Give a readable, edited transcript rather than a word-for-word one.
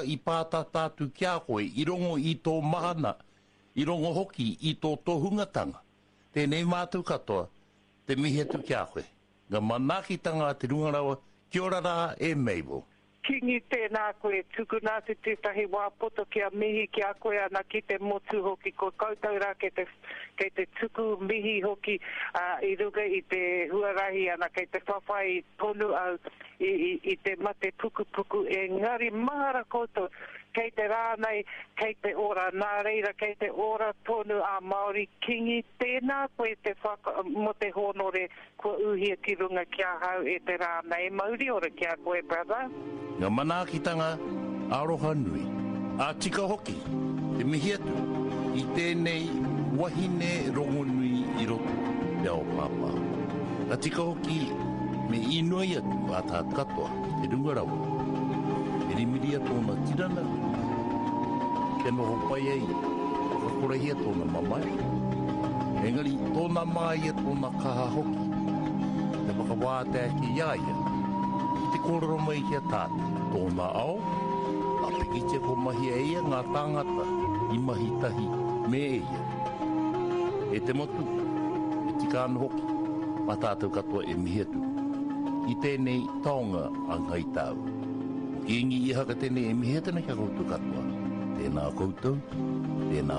I pātata atu ki a koe, i rongo i tō mahana, i rongo hoki i tō tohungatanga. Tēnei mātou katoa, te mihi atu ki a koe. Ngā manaakitanga a te Runga Rawa, kia ora rā e Mabel. Kingi tēnā koe, tukuna atu tētahi wā poto kia mihi ki a koe ana ki te motu hoki, ko koutou rā kei te, kei te tuku mihi hoki i runga i te huarahi ana kei te whawhai tonu au i, i, i te mate pukupuku engari mahara koutou kei te rā nei kei te ora nā reira kei te ora tonu a Māori Kingi tēnā koe te whaka, mo te hōnore Kua uhia ki runga ki ahau e te rā nei, mauri ora ki a koe brother. Nga manaakitanga aroha nui, a tika hoki te mihi atu i tēnei wahine rongonui i roto te ao pāpāho. Ka tika hoki me inoi atu a tātou katoa ki te runga rawa, mirimiria tōna tirana kia noho pai ai ia, whakakorehia tōna mamae, engari tōna māia, tōna kaha hoki te whakawātea ake i a ia ki te kōrero mai ki a tātou, tōna ao, ka pikitia kua mahia e ia ngā tāngata i mahi tahi me ia. E te motu, e tika ana hoki mā tātou katoa e mihi atu ki tēnei taonga a Ngāi Tāua. Ko Kīngi Ihaka tēnei e mihi atu ana ki a koutou katoa. Tēnā koutou, tēnā.